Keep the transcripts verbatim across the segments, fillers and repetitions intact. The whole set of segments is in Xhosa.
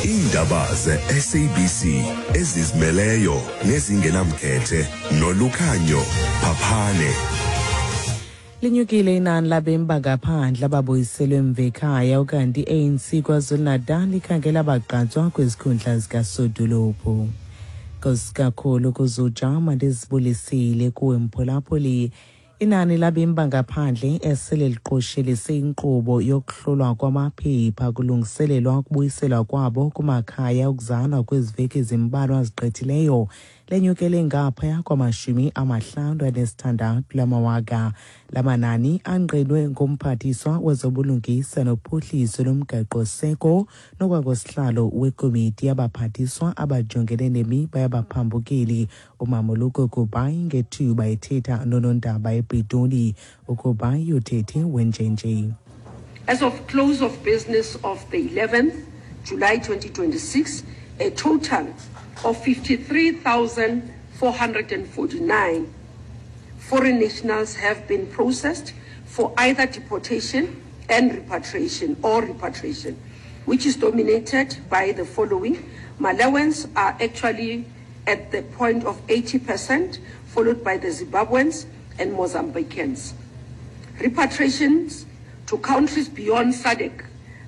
Iindaba ze-S A B C ezizimeleyo nezingenamkhethe noLukhanyo Phaphane. Linyukile inani labemi bangaphandle ababuyiselwe emva ekhaya, ukanti i-A N C KwaZulu-Natal ikhangela abagqatswa kwizikhundla zikasodolophu. Nkosi kakhulu kuzujama, ndizibulisile kuwe mphulaphuli. Inani labemi bangaphandle esele liqoshelise inkqubo yokuhlolwa kwamaphepha kulungiselelwa ukubuyiselwa kwabo kumakhaya okuzalwa kwezi veki zimbalwa zigqithileyo lenyukele ngaphaya kwamashumi amahlanu anesithandathu lamawaka. La manani angqinwe ngumphathiswa wezobulungisa nophuhliso lomgaqo-seko nokwangusihlalo wekomiti yabaphathiswa abajongene nemiba yabaphambukeli, uMamoloko Kubayi, ngethuba ethetha nonondaba ePitoli. UKubayi uthethe wenjenje. As of close of business of the eleventh July twenty twenty-six, a total of fifty-three thousand four hundred forty-nine foreign nationals have been processed for either deportation and repatriation or repatriation, which is dominated by the following. Malawians are actually at the point of eighty percent, followed by the Zimbabweans and Mozambicans. Repatriations to countries beyond SADC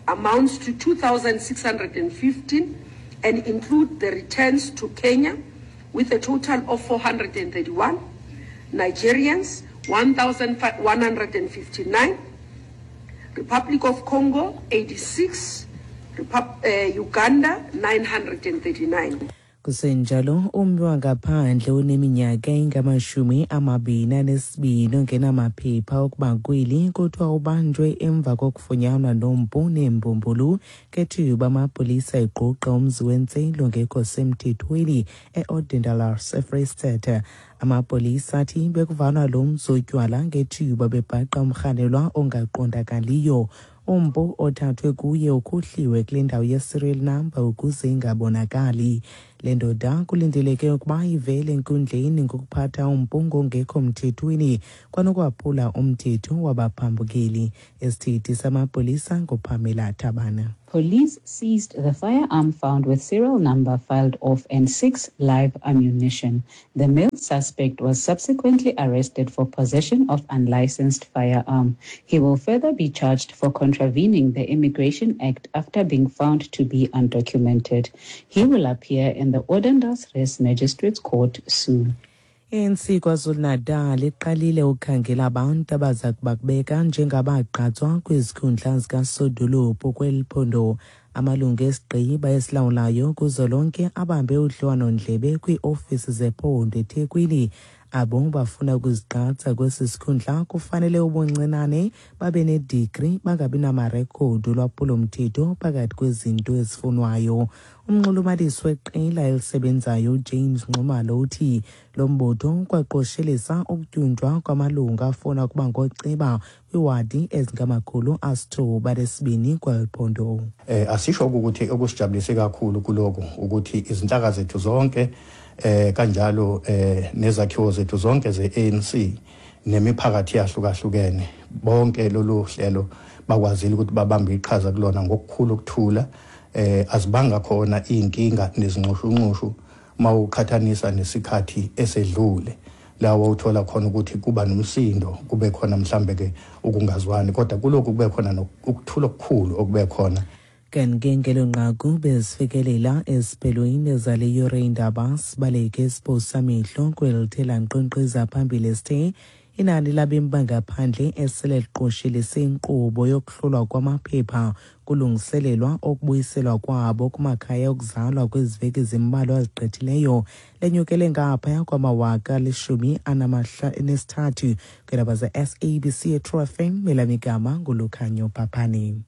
amounts to two thousand six hundred fifteen and include the returns to Kenya with a total of four hundred thirty-one, Nigerians one thousand one hundred fifty-nine, Republic of Congo eighty-six, Repub- uh, Uganda nine hundred thirty-nine. Kusenjalo, ummi wangaphandle oneminyaka engamashumi amabini anesibini ongenamaphepha okuba kweli kuthiwa ubanjwe emva kokufunyanwa nompu neembumbulu ngethuba amapolisa egqogqa umzi wentselo ongekho semthethweni e-Odendaalsrus, eFreyistata. Amapolisa athi bekuvalwa lo mzi wotywala ngethuba bebhaqa umrhanelwa ongaqondakaliyo. Umpu othathwe kuye ukhuhliwe kule ndawo ye-serial number ukuze ingabonakali. Le ndoda kulindeleke ukuba ivele enkundleni ngokuphatha umpu ngongekho mthethweni kwanokwaphula umthetho wabaphambukeli. Isithethi samapolisa nguPamela Thabana. Police seized the firearm found with serial number filed off and six live ammunition. The male suspect was subsequently arrested for possession of unlicensed firearm. He will further be charged for contravening the Immigration Act after being found to be undocumented. He will appear in the Odendaalsrus Magistrates Court soon. I A N C KwaZulu-Natal iqalile ukukhangela abantu abaza kubakubeka njengabagqatswa kwizikhundla zikasodolophu kweli phondo. Amalungu esigqiba esilawulayo kuzwelonke abambe udliwano-ndlebe kwiiofisi zephondo eThekwini. Abo bafuna ukuzigqatsa kwesi sikhundla kufanele ubuncinane babe nedigri, bangabi namarekhodi olwaphulo-mthetho phakathi kwezinto ezifunwayo. Umnxulumanisi weqela elisebenzayo uJames Nxumalo uthi lo mbutho kwaqoshelisa ukutyunjwa kwamalungu afuna ukuba ngooceba kwiiwadi ezingamakhulu asithoba nesibini kweli phondo. Eh asisho ukuthi okusijabulise kakhulu kuloko ukuthi izinhlaka zethu zonke eh kanjalo eh nezakhiwo zethu zonke ze-A N C nemiphakathi yahlukahlukene, bonke lolu hlelo bakwazile ukuthi babambe iqhaza kulona ngokukhulu ukuthula. eh azibanga khona inkinga nezinxushunxushu mawuqhathanisa nesikhathi esedlule lawo uthola khona ukuthi kuba nomsindo, kube khona mhlambe ke ukungazwani, kodwa kulokhu kube khona ukuthula okukhulu okube khona. Kanti ngelo nqaku bezifikelela esiphelweni zale yure indaba. Sibaleke isiphosa amehlo kwelithela nkqenkqeza phambili sithe inani labemi bangaphandle esele liqoshelise inkqubo yokuhlolwa kwamaphepha kulungiselelwa ukubuyiselwa kwabo kumakhaya okuzalwa kwezi veki zimbalwa zigqithileyo lenyukele ngaphaya kwamawaka alishumi anesithathu. Kwiindaba ze-S A B C eTrue F M, elamigama nguLukhanyo Phaphane.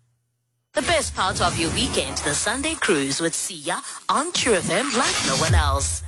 The best part of your weekend, the Sunday Cruise with Siya on True F M like no one else.